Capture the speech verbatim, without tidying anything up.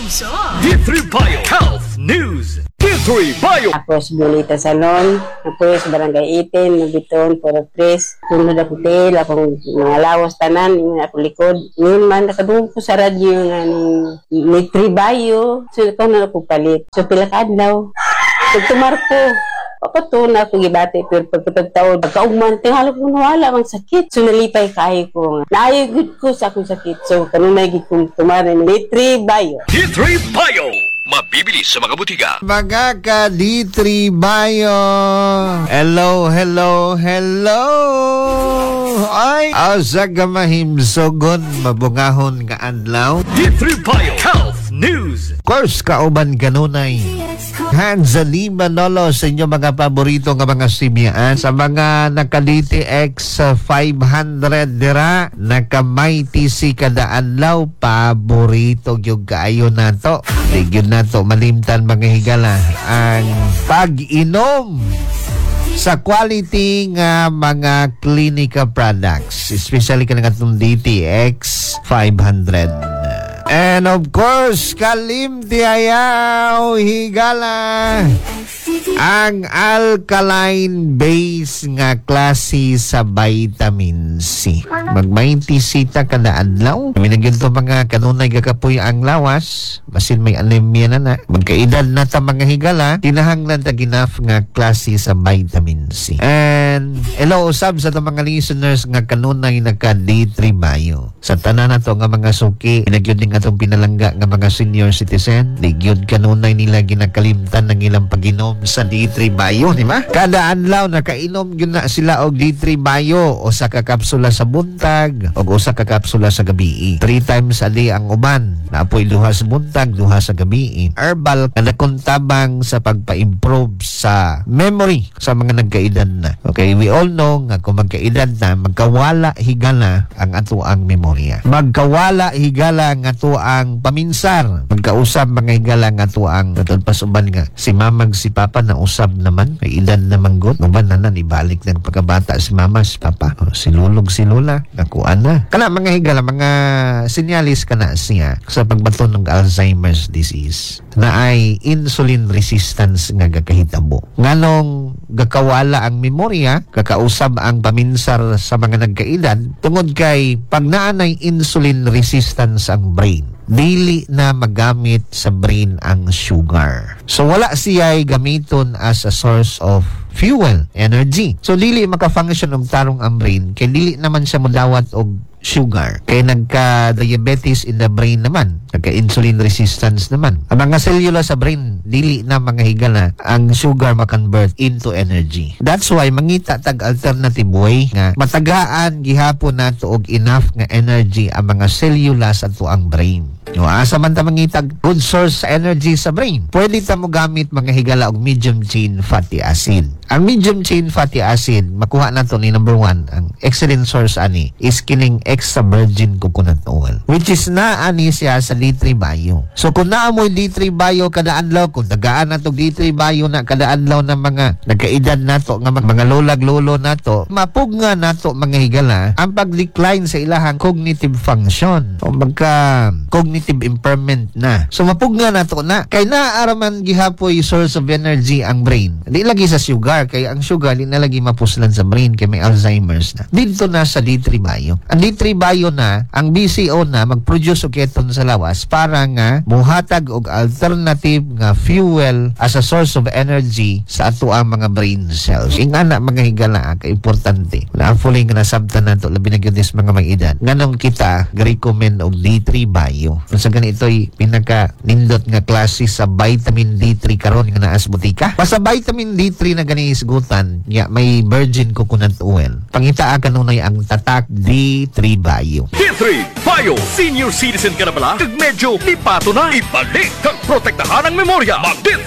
Unsa? D three Bio Health News. D three Bio. Ako si Violeta Salon, ako sa Barangay eighteen, Mabiton, Puro Tres. Tunod ako til, akong mga lawas tanan, ingon ako likod. Ngayon man, nakadungog ko sa radyo nga ning may tribayo. So, ikaw na ako palit. So, pila ka adlaw. Pagtumar ko, papato na ako gibati, pero pagkatag taon, pagkaugman, tingala ko nawala ang sakit. So, nalipay kaayo ko. Naayo gud ko sa akong sakit. So, kanunay gid kong tumar ni tribayo. D three Bio. Mabibili sa mga butika. Mga ka D three Bio. Hello, hello, hello. Ay, asa ka mahimsogon mabungahon nga adlaw. D three Bio Health News. Of course, kauban kanunay Hanzali Manolo sa inyong mga paborito nga mga simyaan. Sa mga naka D T X five hundred dira, naka T C kada adlaw, paborito gyud kaayo nato. Di gyud nato malimtan, mga higala, ang pag-inom sa quality nga mga clinical products, especially kanang atong D T X five hundred. And of course, kalimti ayaw, higala, ang alkaline base nga klase sa vitamin C. Mag-Mighty C ta kada adlaw. Kami to mga kanunay gakapoy ang lawas, basin may anemia na na. Magkaedad na ta, mga higala, kinahanglan ta enough nga klase sa vitamin C. And hello usab sa atong mga listeners nga kanunay naka D three Bio. Sa tanan nato nga mga suki, nagyud ning atong pinalangga nga mga senior citizen, di gyud kanunay nila ginakalimtan ng ilang pag-inom sa D three Bio, di ba? Kada adlaw nakainom gyud na sila og D three Bio, usa ka kapsula sa buntag ug usa ka kapsula sa gabi. Three times a day ang uban. Naapoy duha sa buntag, duha sa gabi. Herbal nga nakuntabang sa pagpa-improve sa memory sa mga nagkaedad na. Okay, we all know nga kung magkaedad na, magkawala higala ang ato ang memorya. Magkawala higala ang ato ang paminsar. Magkausab, mga higala, ang ato ang katod pas uban nga si mamag si papa na usab naman, may edad na manggot. Uban na na ibalik ng pagkabata si mama, si papa, o, si lulog, si lola, nakuan na. Kana, mga higala, mga sinyalis kana siya sa pagbaton ng Alzheimer's disease na ay insulin resistance nga gakahitabo. Nganong gakawala ang memorya, kakausab ang paminsar sa mga nagkaedad, tungod kay pag naanay insulin resistance ang brain, dili na magamit sa brain ang sugar. So wala siya gamiton as a source of fuel, energy. So dili maka-function og tarong ang brain kay dili naman siya modawat og sugar. Kay nagka-diabetes in the brain naman, nagka-insulin resistance naman. Ang mga selula sa brain, dili na, mga higala, ang sugar ma-convert into energy. That's why mangita tag alternative way nga matagaan gihapon nato og enough nga energy ang mga selula sa atuang brain. No, asa man ta mangitag good source sa energy sa brain? Pwede ta mo gamit, mga higala, og medium chain fatty acid. Ang medium chain fatty acid, makuha nato ni number one, ang excellent source ani is kining extra virgin coconut oil. Which is naa ani siya sa D three Bio. So kung naa mo'y D three Bio kada adlaw, kung tagaan nato D three Bio na kada adlaw ng mga nagkaedad nato nga mga, mga lolag lolo nato, mapugna nato, mga higala, ang pag-decline sa ilahang cognitive function o magka cognitive impairment na. So mapugna nato na kay naaraman gihapoy source of energy ang brain. Di lagi sa sugar kay ang sugar di na lagi mapuslan sa brain kay may Alzheimer's na. Dito na sa D three Bio. Ang D three Bio na, ang B C O na mag-produce og ketone sa lawas para nga muhatag og alternative nga fuel as a source of energy sa ato ang mga brain cells. Ingana, mga higala, kay importante. Na fully nga nasabtan nato, labi na gyud is mga may edad. Nganong kita recommend og D three Bio. Kung sa ganito'y pinaka nindot nga klase sa vitamin D three karon nga naa sa botika. Basta vitamin D three na gani isgutan, ya may virgin coconut oil. Pangitaa kanunay ang tatak D three Bio. D three Bio. Senior citizen ka na pala? Kag medyo lipato na. Ibalik kag protektahan ang memorya. Mag D three